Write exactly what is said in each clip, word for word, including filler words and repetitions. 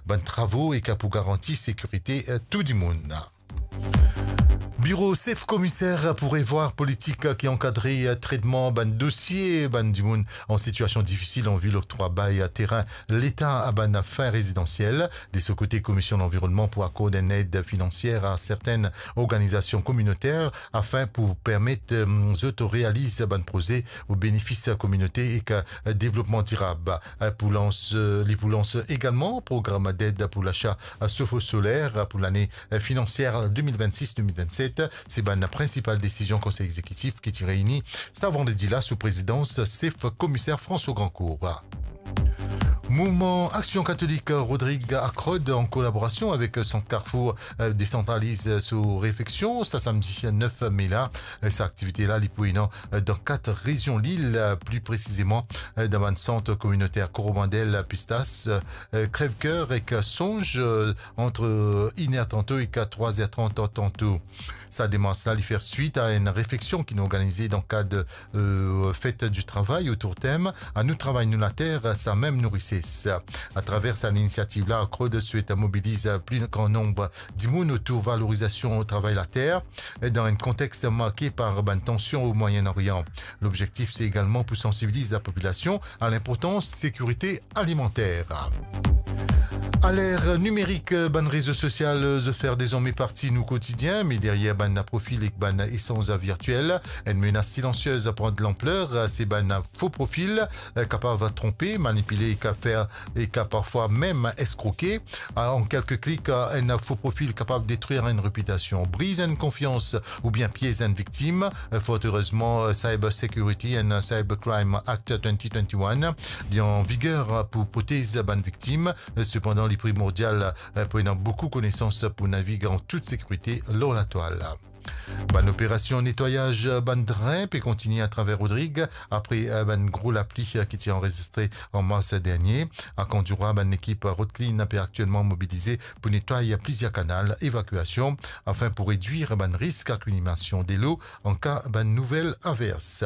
bann travo ek pou garanti sekirite, eh, tou dimoun. Biro Sef Komiser pou revwar politik ki ankadre, eh, tretman bann dosie bann dimoun an sitiasion difisil an vi loktrwa bay terin Leta a bann fin rezidansiel. De so kote, Komisionn Lanvironnman pou akord enn ed finansier a sertenn organizasion kominoter afin pou permet, eh, zot realiz bann proze o benefis kominote ek, eh, devlopman dirab. Eh, pou lans, eh, li pou lans egalman program ded pou lasa, eh, sof soler, eh, pou lane, eh, finansier de mil vennsis de mil vennset. Se bann prinsipal desizion Konsey Egzekitif ki ti reini sa vandredi la sou prezidans Sef Komiser François Grandcourt. Mouvman Aksion Katolik Rodrig Akrod, an kolaborasion avek Sant Karfour, eh, desantraliz so refleksion sa samdi nef me la. Eh, sa aktivite la, li pou ena, eh, dan kat rezion lil, eh, pli presizeman, eh, dan bann sant kominoter Koromandel, Pistas, eh, Crèvecoeur ek Songe, eh, ant, eh, iner tanto ek trwa er trant tanto. Sa demars la, li fer swit a enn refleksion ki nou organize dan kad, eh, Fête du Travail otour tem "A nou travay nou later, sa mem nou rises". Atraver sa linisiativ la, Akrod swet mobiliz pli gran nonb dimoun otour valorizasion travay later, dan enn kontex marke par bann tansion o Moyen Orient. Lobzektif, se egalman pou sansibiliz lapopilasion a linportans sekirite alimanter. A ler nimerik, bann rezo sosial, eh, zot fer dezorme parti nou kotidien, me deryer bann profil ek bann esanz virtiel, enn menas silansiez pran de lanpler, eh, se bann fo profil, eh, kapav tronpe, manipile ek fer, ek parfwa mem eskroke. Ah, an kelke klik, eh, enn fo profil kapav detrir enn repitasion, briz enn konfians oubien piez enn viktim. Eh, fort erezman, eh, Cyber Security and Cybercrime Act twenty twenty-one li an viger pou protez bann viktim. Eh, sepandan, li primordial, eh, pou ena boukou konesans pou navig an tout sekirite lor latwal. Bann operasion netwayaz bann drin pe kontigne atraver Rodrig apre, eh, bann gro lapli, eh, ki ti anrezistre an mars dernie. Ak Andirwa, bann lekip Rotclean pe aktielman mobilize pou netway plizier kanal evakiasion afin pou redwir bann risk ak inondasion delo an ka bann nouvel avers.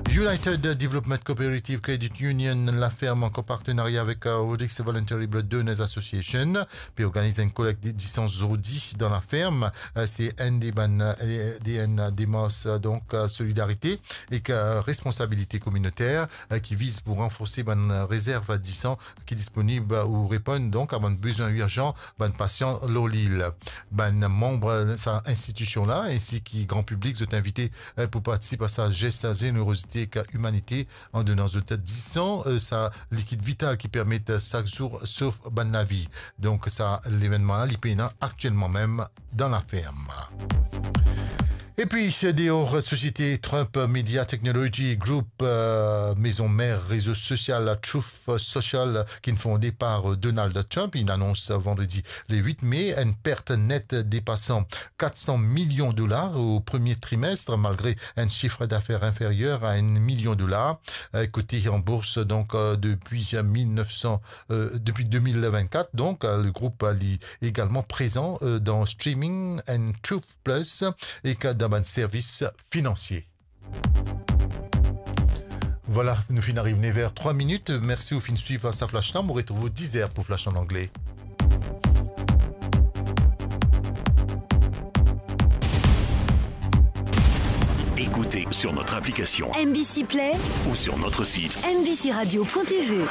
United Development Cooperative Credit Union, Laferm, an partenaria avek, eh, Rodrigues Voluntary Blood Donors Association, pe organiz enn kolekt de, de san zordi dan Laferm. Eh, se enn de bann, eh, de, enn demars, eh, donk, eh, solidarite ek, eh, responsabilite kominoter, eh, ki viz pou ranforse bann rezerv de san ki disponib, eh, ou reponn donk a bann bizwin irzan bann pasian lor lil. Bann manb sa institision la, ensi ki gran piblik, zot invite, eh, pou partisip a sa zes zenerozite ek imanite, an donan zot de san, eh, sa likid vital ki permet, eh, sak zour sof bann lavi. Donk, sa levennman la, li pena aktielman mem dan Laferm. Epi, deor, sosiete Trump Media Technology Group, eh, mezon mer rezo sosial Truth Social, ki'nn fonde par, eh, Donald Trump, inn anons vandredi le wit me enn pert net depasan kat san milion dolar o premie trimest, malgre enn sifr dafer inferyer a enn milion dolar, eh, kote an bours, donk, eh, depi mil nef san, eh, depi de mil vennkat. Donk, eh, le group, eh, li egalman prezan, eh, dan streaming and Truth Plus ek dan bann servis finansie. Vwala, nou finn ariv nef er trwa minit. Mersi ou finn swiv sa flash la. Mo retrouv ou diz er pou flash an angle. Écoutez sur notre application M B C Play ou sur notre site M B C radio point T V.